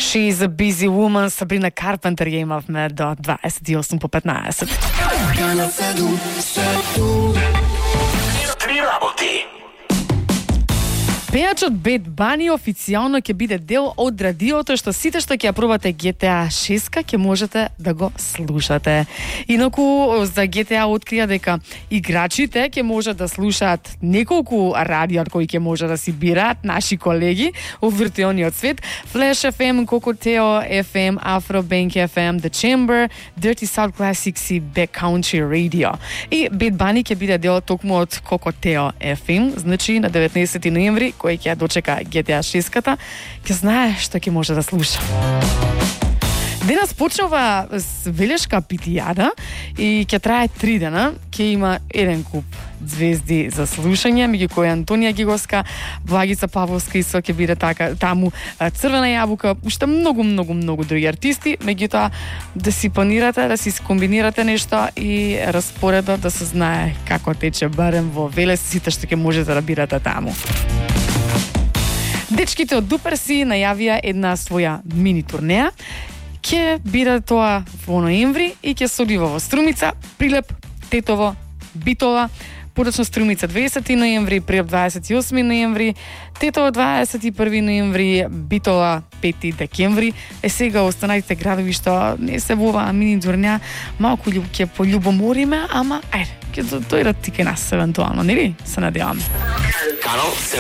She's a busy woman, Sabrina Carpenter ја имавме до 28 по 15. Три работи. Пејачот Бед Бани официјално ќе биде дел од радиото, што сите што ќе ја пробате GTA 6 ќе можете да го слушате. Инаку за GTA открија дека играчите ќе можат да слушаат неколку радио кои ќе може да си бираат наши колеги во виртуелниот свет: Flash FM, Cocoteo FM, Afrobank FM, The Chamber, Dirty South Classics и Backcountry Radio. И Бед Бани ќе биде дел токму од Cocoteo FM, значи на 19 ноември кој ќе ја дочека GTA 6-ката, ќе знае што ќе може да слуша. Денес почнува велешка питијада и ќе трае 3 дена. Ќе има еден куп звезди за слушање, меѓу кои Антонија Гиговска, Благица Павловска и ќе биде таму Црвена јабука, уште многу други артисти, меѓутоа да си планирате, да си скомбинирате нешто и распоредот да се знае како тече барем во Велес, сите што ќе можете да бирате таму. Дечките од Дуперси најавија една своја мини турнеја. Ќе биде тоа во ноември и ќе се одива во Струмица, Прилеп, Тетово, Битола, подоцна Струмица 20 ноември, Прилеп 28 ноември, Тетово 21 ноември, Битола 5 декември. Сега останатите градови што не се во оваа мини турнеја, малку ќе пољубомориме, ама ајде, ќе дојдат и кај нас евентуално, нели? Се надевам. Канал